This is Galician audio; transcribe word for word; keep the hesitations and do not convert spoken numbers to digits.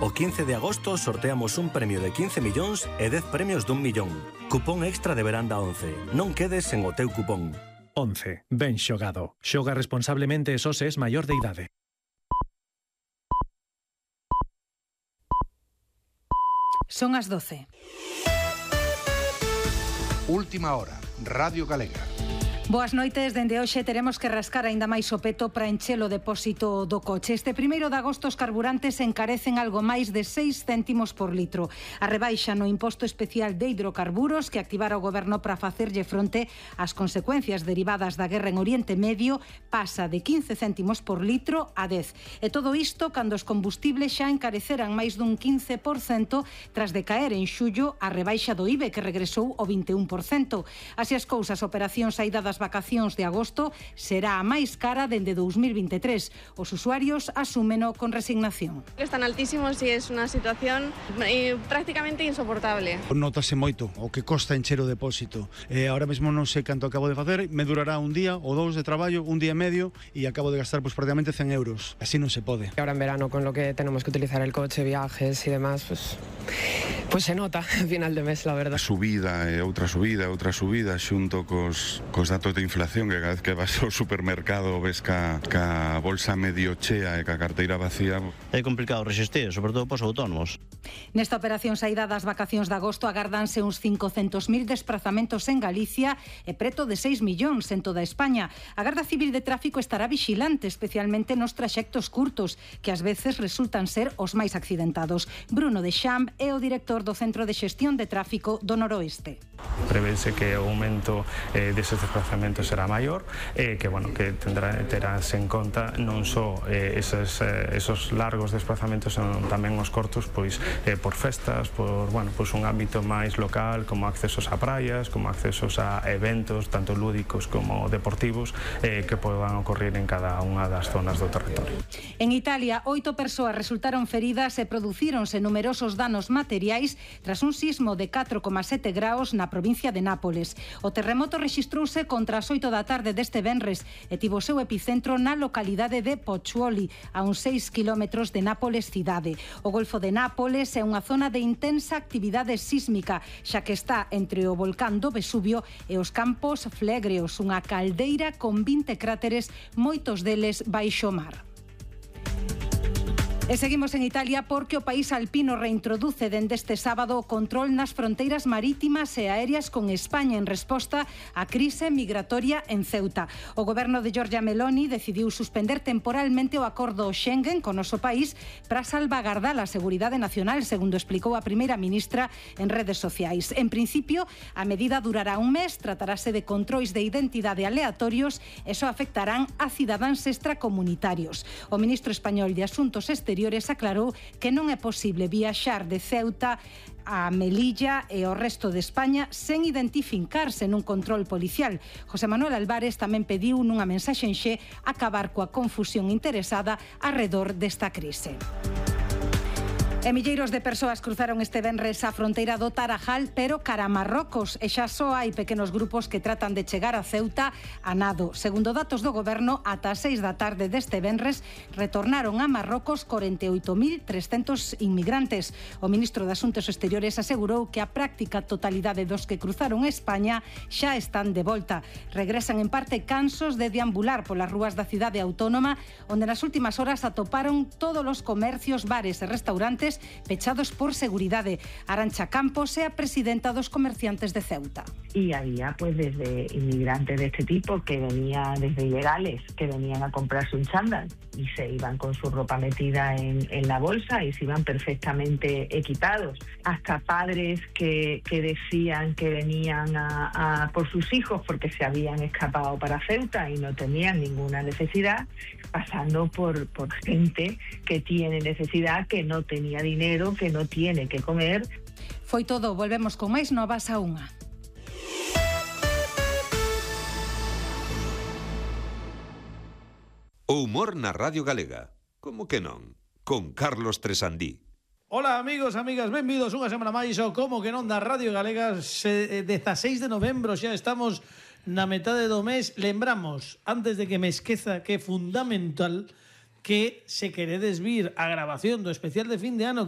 O quince de agosto sorteamos un premio de quince millóns e dez premios dun millón. Cupón extra de veranda once. Non quedes sen o teu cupón. once. Ben xogado. Xoga responsablemente e só se es maior de idade. Son as doce. Última hora, Radio Galega. Boas noites, dende hoxe teremos que rascar aínda máis o peto para encher o depósito do coche. Este primeiro de agosto os carburantes encarecen algo máis de seis céntimos por litro. A rebaixa no imposto especial de hidrocarburos que activara o goberno para facerlle fronte ás consecuencias derivadas da guerra en Oriente Medio pasa de quince céntimos por litro a dez. E todo isto cando os combustibles xa encareceran máis dun quince por cento tras de caer en xullo a rebaixa do I V E que regresou ao vinte e un por cento. Así as cousas, a operación saída das vacacións de agosto será a máis cara dende dous mil vinte e tres. Os usuarios asúmeno con resignación. Están altísimos e é unha situación eh, prácticamente insoportable. Notase moito o que costa encher o depósito. Eh, ahora mesmo non sei canto acabo de facer, me durará un día ou dous de traballo, un día e medio, e acabo de gastar pues, prácticamente cen euros. Así non se pode. Ahora en verano, con lo que tenemos que utilizar el coche, viajes y demás, pues, pues se nota al final de mes, la verdad. A subida e outra subida, outra subida, xunto cos, cos datos de inflación, que cada vez que vas ao supermercado ves ca, ca bolsa medio chea e ca carteira vacía. É complicado resistir, sobre todo pos autónomos. Nesta operación saída das vacacións de agosto agardanse uns cincocentos mil desprazamentos en Galicia e preto de seis millóns en toda España. A Garda Civil de Tráfico estará vigilante, especialmente nos traxectos curtos, que ás veces resultan ser os máis accidentados. Bruno de Champ é o director do Centro de Xestión de Tráfico do Noroeste. Prevese que o aumento eh, deses desplazamentos será maior e eh, que, bueno, que tendrá, terás en conta non só eh, esos, eh, esos largos desplazamentos, senón tamén os cortos, pois eh, por festas, por, bueno, pois un ámbito máis local, como accesos a praias, como accesos a eventos, tanto lúdicos como deportivos, eh, que podan ocorrer en cada unha das zonas do territorio. En Italia, oito persoas resultaron feridas e producíronse numerosos danos materiais tras un sismo de catro coma sete graos na provincia de Nápoles. O terremoto rexistrouse contra as oito da tarde deste venres e tivo o seu epicentro na localidade de Pozzuoli, a uns seis kilómetros de Nápoles cidade. O Golfo de Nápoles é unha zona de intensa actividade sísmica, xa que está entre o volcán do Vesubio e os Campos Flegreos, unha caldeira con vinte cráteres, moitos deles baixo mar. E seguimos en Italia porque o país alpino reintroduce dende este sábado o control nas fronteiras marítimas e aéreas con España en resposta á crise migratoria en Ceuta. O goberno de Giorgia Meloni decidiu suspender temporalmente o acordo Schengen con o noso país para salvagardar a seguridade nacional, segundo explicou a primeira ministra en redes sociais. En principio, a medida durará un mes, tratarase de controis de identidade aleatorios e só afectarán a cidadáns extracomunitarios. O ministro español de Asuntos Exteriores aclarou que non é posible viaxar de Ceuta a Melilla e o resto de España sen identificarse nun control policial. José Manuel Álvarez tamén pediu nunha mensaxe en Xe acabar coa confusión interesada arredor desta crise. E milleiros de persoas cruzaron este venres a fronteira do Tarajal, pero cara a Marrocos, e xa só hai pequenos grupos que tratan de chegar a Ceuta a nado. Segundo datos do goberno, ata as seis da tarde deste venres retornaron a Marrocos corenta e oito mil trescentos inmigrantes. O ministro de Asuntos Exteriores asegurou que a práctica totalidade dos que cruzaron España xa están de volta. Regresan en parte cansos de deambular polas rúas da cidade autónoma, onde nas últimas horas atoparon todos os comercios, bares e restaurantes pechados por seguridade. Arantxa Campos é a presidenta dos comerciantes de Ceuta. Y había pues desde inmigrantes de este tipo que venían desde ilegales, que venían a comprarse un chándal y se iban con su ropa metida en, en la bolsa y se iban perfectamente equipados. Hasta padres que, que decían que venían a, a por sus hijos porque se habían escapado para Ceuta y no tenían ninguna necesidad, pasando por, por gente que tiene necesidad, que no tenía dinero, que no tiene que comer. Foi todo, volvemos con máis novas a unha. O humor na Radio Galega. Como que non? Con Carlos Tresandí. Ola amigos, amigas, benvidos unha semana máis ao Como que non da Radio Galega. Dezaseis de novembro, xa estamos na metade do mes. Lembramos, antes de que me esqueza, que é fundamental que se queredes vir a grabación do especial de fin de ano